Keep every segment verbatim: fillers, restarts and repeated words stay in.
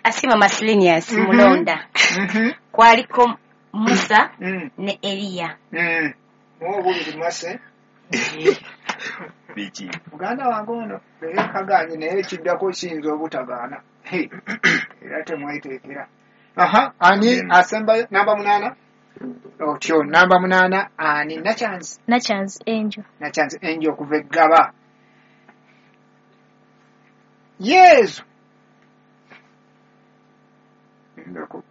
Asiima Masilinius Mulonda. Kwaliko Musa ne Eriya. Obubiri Mase. Biki? Muganda wange ono leero kagaanye naye ekiddako kiyinza obutagaana. Era temweteekera. Aha, ani asembayo namba munaana? Otyo namba munaana ani? Nachanzi. Nachanzi Angel. Nachanzi Angel okuva e Ggaba. Yesu. Ndako.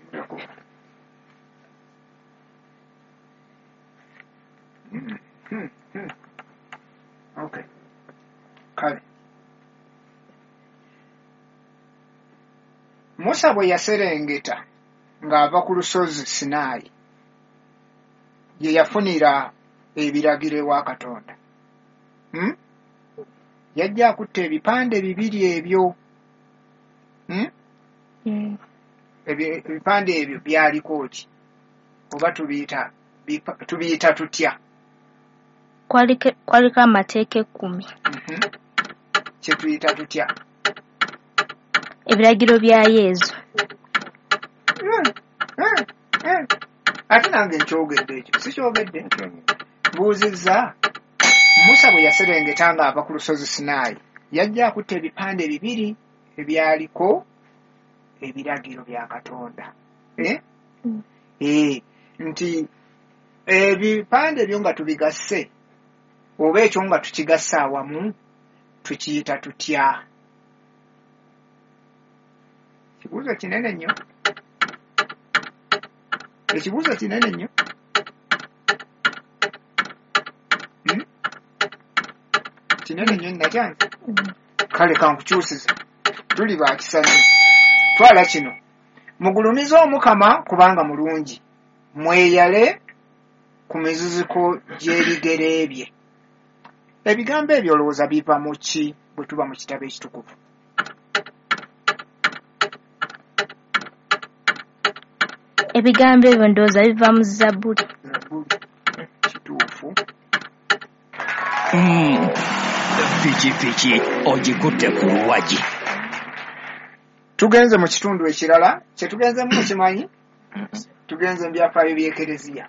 Ndako. Mm, mm, mm. Okay. Kale. Musa bwe yaserengeta ng'ava ku lusozi Sinaayi, ye yafunira ebiragiro ewa Katonda. Hmm? Yajja akutta ebipande bibiri ebyo. Hmm? Mm. Ebipande ebyo byaliko ki? Oba tubiyita tubiyita tutya? Kwaliko kwaliko amateeka ekkumi. Mm-hmm. Kye tuyita tutya? Ebiragiro bya Yesu. Mm, mm, mm. Ate nange nkyogedde ekyo, sikyogedde? Mbuuzizza. Musa bwe yaserengeta ng'ava ku lusozi Sinaayi, yajja akutta ebipande bibiri ebyaliko ebiragiro bya Katonda. Eh? Mm. Eh, nti ebipande ebyo nga tubigasse oba ekyo nga tukigasse awamu tukiyita tutya? Kibuuzo kinene nnyo. Ekibuuzo kinene nnyo. Hmm? Kinene nnyo Nakyanzi. Kale kankukyusize. Tuli ba kisa nnyo. Twala kino. Mugulumize Omukama kubanga mulungi. Mweyale ku miziziko gy'ebigere bye. Ebigambo ebyo olowooza biva mu ki bwe tuba mu kitabo ekitukuvu? Ebigambo ebyo ndowooza biva mu Zabbuli. Zabbuli. Kituufu. Mm. Pikipiki ogikutte ku luwagi. Tugenze mu kitundu ekirala, kye tugenzemu mukimanyi? Tugenze mu byafaayo by'Ekereziya.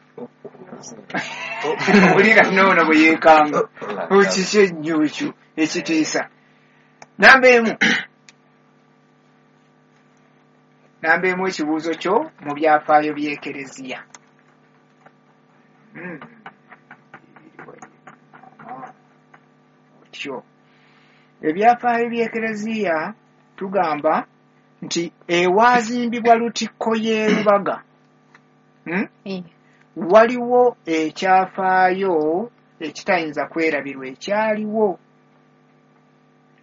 Owulira noono bwe yeekanga. Kiki ennyo ekyo ekitiisa? Namba emu. Namba emu ekibuuzo kyo mu byafaayo by'Ekereziya. Mm. Otyo. Ebyafaayo by'Ekereziya tugamba nti ewaazimbibwa Lutikko y'e Lubaga. Hmm? Mm. Waliwo ekyafaayo ekitayinza kwerabirwa ekyaliwo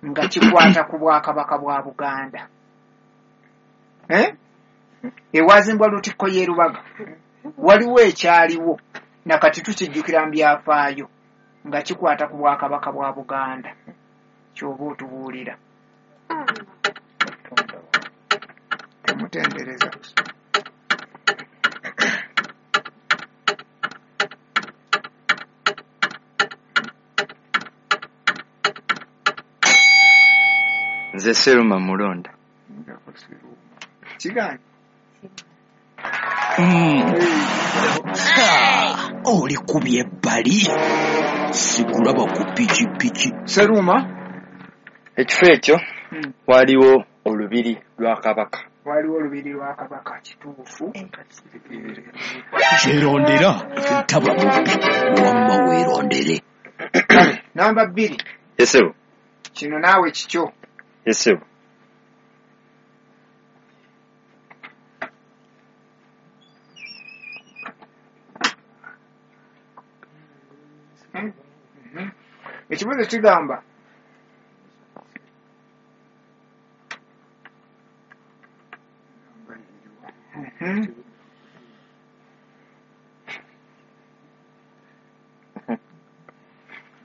nga kikwata ku bwakabaka bwa Buganda. Eh? Ewazimbwa Lutikko y'e Lubaga waliwo ekyaliwo nakati tukijjukira mu byafaayo nga kikwata ku bwakabaka bwa Buganda. Ky'oba otubuulira. Temutendereza. Nze Seruma Mulonda. Kigaanyi. Mm. Oli kubye ebbali. Sikulaba ku pikipiki. Seruma. Ekifo ekyo Mm. waliwo olubiri lwa Kabaka. Waliwo olubiri lwa Kabaka kituufu. Kyerondera taba mubbi wamma weerondere. Kale namba bbiri. Yesebo. Kino naawe kikyo. Yesebo. Mm. Mhm. Ekibuuzo kigamba Mhm.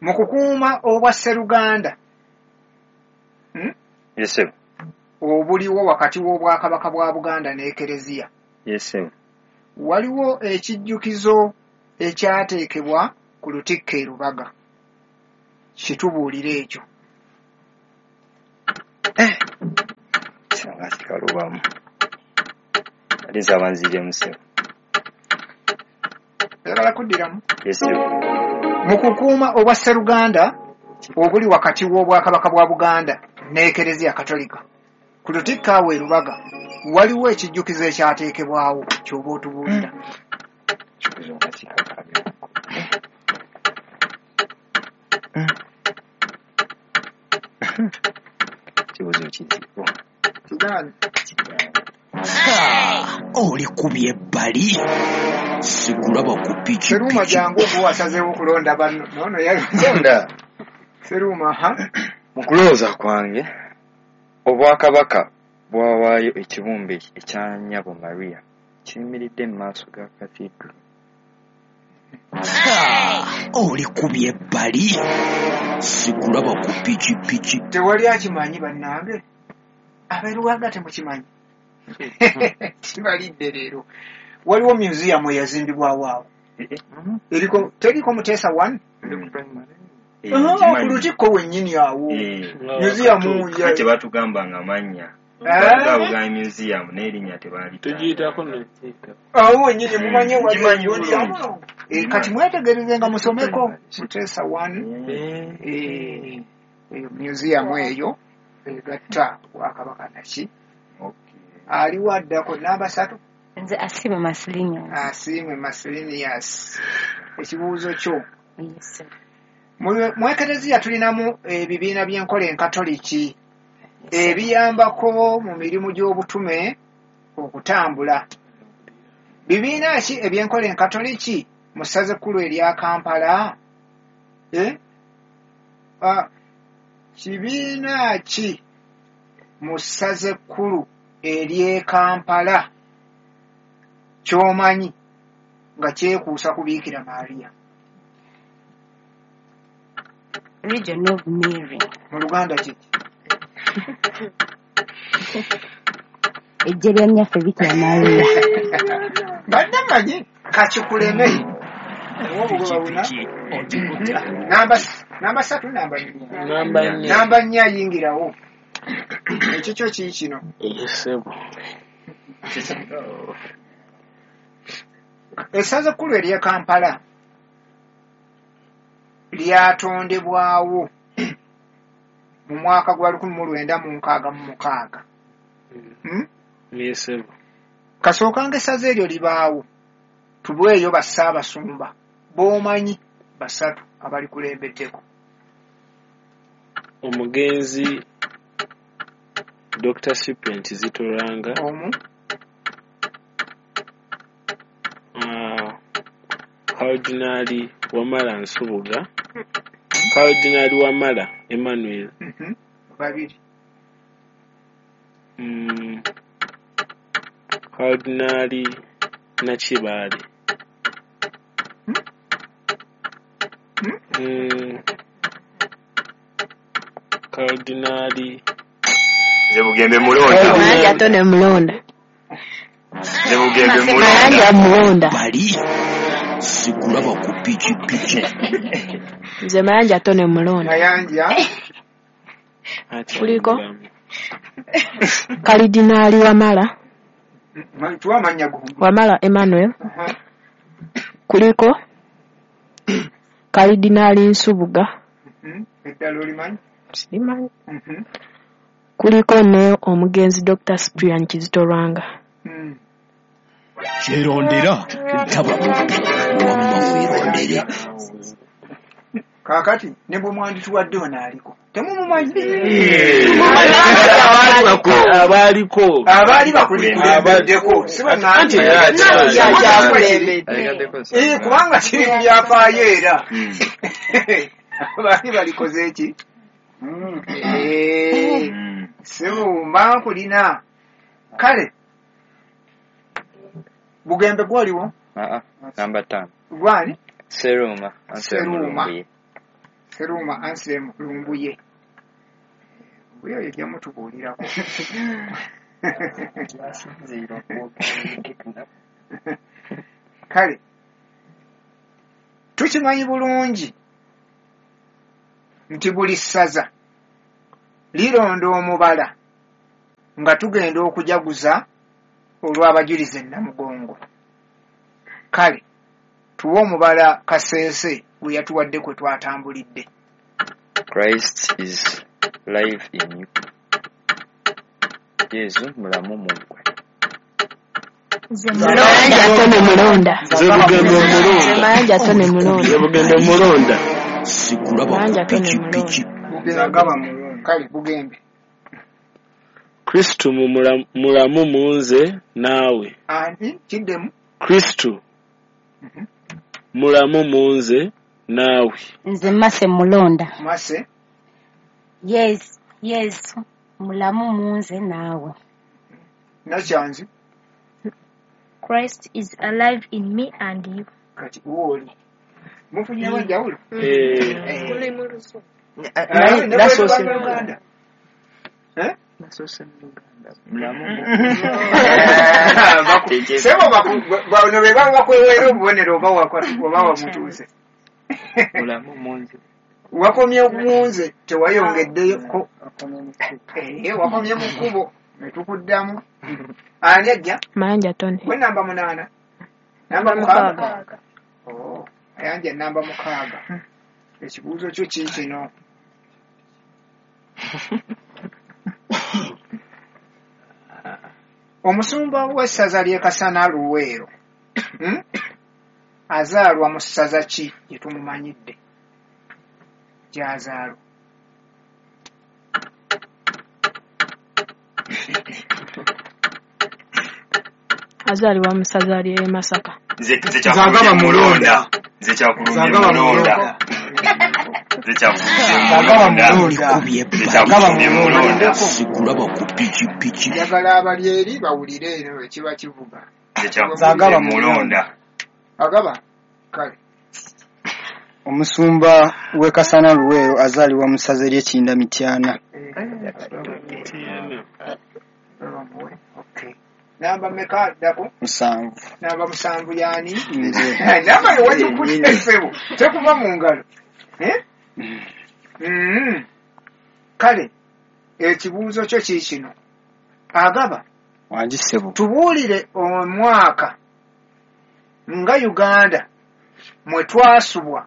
Mu kukuuma obwa Sseruganda hmm? Yesebo. Obuliwo wakati w'Obwakabaka bwa Buganda n'Ekereziya. Yesebo. Waliwo ekijjukizo ekyateekebwa ku Lutikko e Lubaga. Kitubuulire ekyo. Eh. Nkalubamu. Ate nsaba nziremu ssebo. Oyagala kuddiramu? Yes, ssebo. Mu kukuuma obwa Sseruganda obuli wakati w'Obwakabaka bwa Buganda n'Ekereziya Katolika, ku lutikko awo e Lubaga waliwo ekijjukizo ekyateekebwawo ky'oba otubuulira. Kibuuzo nga kikakaabya. Kibuuzo kizibu. Kigaanyi. Olikubye ebbali sikulaba ku Seruuma pikipiki. jangu oba wasazeewo okulonda banno. Noono Londa. Seruuma ha Mu kulowooza kwange Obwakabaka bwawaayo ekibumbe ekya Nnyabo Maria kiyimiridde mu maaso ga Cathedral. Olikubye ebbali sikulaba ku pikipiki. Tewali akimanyi bannange, ab'e temukimanyi. Kibalidde leero. Waliwo museum eyazimbibwawo awo eriko, teriko Muteesa one ku lutikko wennyini awo museum ya- Kye batugamba nga mannya Eh? batugamba museum n'erinnya tebalita. Tugiyitako nokiyita. Awo wennyini mumanye wali Nkimanyi gundi bulungi. awo. Eh, kati mwetegereze nga musomeko Muteesa one, eh, eyo museum eyo egatta Bwakabaka naki. Aliwo addako namba satu. Nze Asiimwe Masilinius. Asiimwe Masilinius, ekibuuzo kyo. Yes. Mu- mu ekereziya tulinamu ebibiina by'enkola enkatoliki ebiyambako mu mirimu gy'obutume okutambula. Bibiina ki ebyenkola enkatoliki mu ssaza ekkulu erya Kampala? Eh? Ah, kibiina ki mu ssaza ekkulu ery'e Kampala ky'omanyi nga kyekuusa ku Biikira Maria? Legion of Mary. Mu Luganda kiki? Ejje lya nnyaffe Bikira Maria. Badde mmanyi kakikuleme. Obugoba buna. Pikipiki ogikutte ku Namba namba ssatu, namba nnya. Namba nnya. Namba nnya ayingirawo. Ekikyo kii kino. Ssebo. Essaza ekkulu ery'e Kampala lyatondebwawo mu mwaka gwa lukumi mu lwenda mu nkaaga mu mukaaga. Hmm? Ssebo. Kasookanga essaza eryo libaawo, tubweyo bassaabasumba b'omanyi basatu abalikulembeddeko. Omugenzi Doctor Cyprian Kizito Lwanga. Omu. uh, Cardinal Wamala Nsubuga, Cardinal Wamala Emmanuel. Mhm. Babiri. mm, Cardinal Nakibaale. Hmm? mm, Cardinal Nze Bugembe mulonda. Mayanja ate ne mulonda. Nze Bugembe mulonda. Mayanja mulonda. Bali sikulaba ku pikipiki. Nze Mayanja ate ne mulonda. Mayanja. Akyali Kuliko? mulamu. Kalidinaali Wamala, Ma- tuwa amannya go. Wamala Emmanuel. Aha. Kuliko Kalidinaali Nsubuga. Mhm. Eddala olimanyi? Simanyi. Mhm. Kuliko ne omugenzi Doctor Cyprian Kizito Lwanga. Mm. Kyerondera ntaba mubbi, wamma weerondere. Kaakati ne bwe mwandituwadde ono aliko temumumanyi. Abaaliko. Abaali bakulikulembeddeko si Anti bannange. era akyali. Eh, kubanga kiri mu byafaayo era abaali balikoze eki. Eh, sibumba nkulina. Kale Bugembe gwoliwo. Namba ttaano. Gwani? Seruuma. Seruuma. Seruuma Anselm Lumbuye. Lumbuye oyo ojja mutubuulirako. Kale tukimanyi bulungi nti buli ssaza lironda omubala Nga tugenda okujaguza olw'abajulizi e Namugongo. Kale tuwe omubala Kaseese gwe yatuwadde kwe twatambulidde. Christ is live in you. Yesu mulamu mu ggwe. Nze Mayanja mulonda. Tone mulonda. Nze Bugembe Nze mulonda. Mayanja Tone Nze mulonda. Bugembe mulonda. Sikulaba ku Mayanja Tone pikipiki. mulonda. Agaba mulonda. Kale Bugembe. Kristo mu mulamu mulamu mu nze naawe. Ani kiddemu? Kristo Mhm. mulamu mu nze naawe. Nze Mase mulonda. Mase. Yes, Yesu mulamu mu nze naawe. Nakyanzi. Christ is alive in me and you. Kati wooli. Mufunyewo enjawulo? Eh, Eh. Naye Ah, ne bwe nasoose luba Luganda. Eh? nasoose mu Luganda. Mulamu mu Baku- Sebo baku- bano be baba bakweweera obubonero oba waka- oba wamutuuse. Mulamu mu nze. Wakomye mu nze tewayongeddeyoko. Eh, wakomye mu kkubo ne tukuddamu. Ani ajja? Mayanja Tone. Gwe namba munaana. Namba Mukaaga. mukaaga. Oh, Mayanja namba mukaaga. Ekibuuzo kyo kiikino. Omusumba w'essaza ly'e Kasana Luweero hmm? azaalwa mu ssaza ki gye tumumanyidde gy'azaalwa? Azaalibwa mu ssaza ly'e Masaka. Nze nze Nze kyakulumbye agaba mulonda. mulonda. Nze kyakulumbye Nze agaba mulonda. mulonda. Nze kyakulumbye Agaba mulonda. mulonda. Olikubye Nze ebbali. Agaba kyakulumbye mulonda. mulonda. Sikulaba ku pikipiki. Njagala abali eri bawulire eno ekiba kivuga. Nze Nze kyakulumbye agaba mulonda. mulonda. Agaba? Kale. Omusumba w'e Kasana Luweero azaalibwa mu ssaza ly'e Kinda Mityana. Eh, Mityana. agaba muwe. Okay. Namba mmeka addako? Musanvu. Namba musanvu y'ani? Nze. Namba yo wagikutte ssebo, tekuva mu ngalo. Eh? Mm. Kale ekibuuzo kyo kiikino. Agaba, Wangi ssebo. tubuulire omwaka nga Uganda mwe twasubwa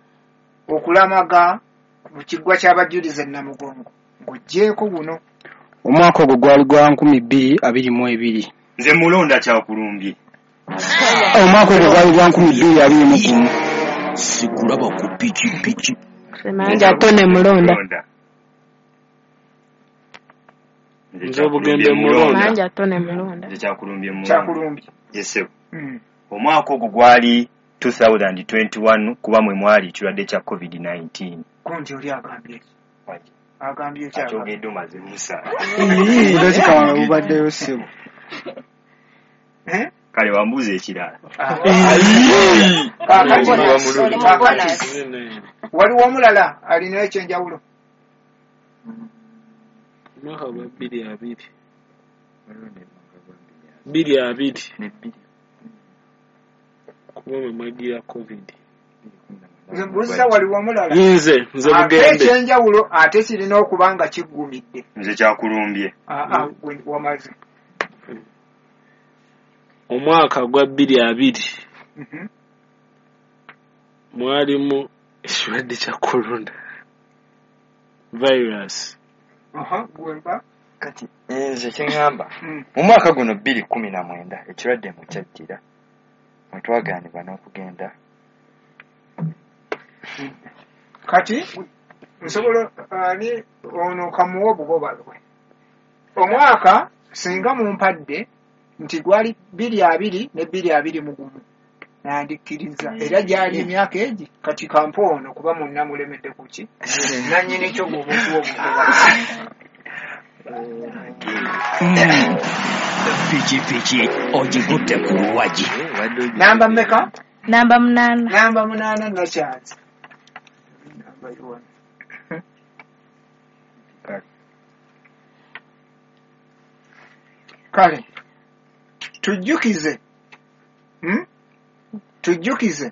okulamaga ku kiggwa ky'abajulizi e Namugongo ng'oggyeeko guno. Omwaka ogwo gwali gwa nkumi bbiri abiri mu ebiri. Nze mulonda kyakulumbye. Omwaka ogwo gwali gwa nkumi bbiri abiri mu gumu. Sikulaba ku pikipiki. Nze Mayanja Tone mulonda. Mulonda. Nze Nze kyakulumbye Bugembe mulonda. mulonda. Mayanja Tone mulonda. Nze kyakulumbye mulonda. Kyakulumbye. Yes ssebo. Mm. Omwaka ogwo gwali two thousand twenty-one kuba mwe mwali ekirwadde kya covid nineteen. Gundi oli agambye ki? Agambye ki agambye? Akyogedde omaze musa. Budakika wange bubaddeyo ssebo. Eh? Kale wambuuza ekirala. Ah. Kaakati, Oli mu kaakati bonus. waliwo omulala alina ekyenjawulo. Omwaka gwa bbiri abiri. Bbiri abiri. Kuba mwe mwagira COVID. Nze mbuuziza waliwo omulala. Nze nze Ate Bugembe. ekyenjawulo ate kirina okuba nga kiggumidde. Nze kyakulumbye. Aa, gwe wamaze. Omwaka gwa bbiri abiri Mhm. mwalimu ekirwadde kya corona virus. Aha, gwe mpa. Kati nze kye ŋŋamba Mm. mu mwaka guno bbiri kkumi na mwenda ekirwadde mwe kyajjira mwe twagaanibwa n'okugenda Kati nsobola ani ono kamuwa obugoba bwe. Omwaka singa mumpadde nti gwali bbiri abiri ne bbiri abiri mu gumu nandikkiriza era gyali emyaka egi kati kampe ono kuba munna mulemedde ku ki nannyini kyo gw'oba okuwa obugoba. Pikipiki ogigutte ku luwagi. Namba mmeka? Namba munaana. Namba munaana Nakyanzi. Namba yiwano. Kale tujjukize hmm? Tujjukize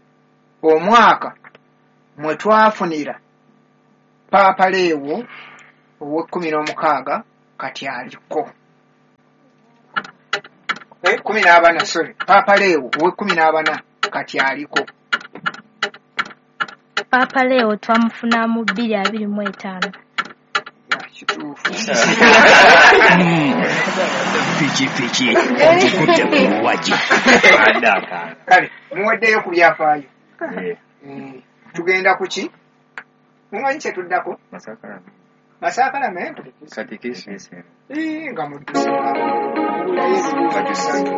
omwaka mwe twafunira Paapa Leewo ow'ekkumi n'omukaaga kati aliko. Kumi n'abana, sorry, Paapa Leewo ow'ekkumi n'abana kati aliko. Paapa Leo twamufuna mu bbiri abiri mu etaano. Ya, kituufu. Pikipiki ogikutte ku luwagi. Adde akaana. Kale muweddeyo ku byafaayo. Eh, Eh, tugenda ku ki? Mumanyi kye tuddako? Masakalamento. Masakalamento. Katikisi. Ii, nga mudduse. Mubulayo ebibuuzo bisatu.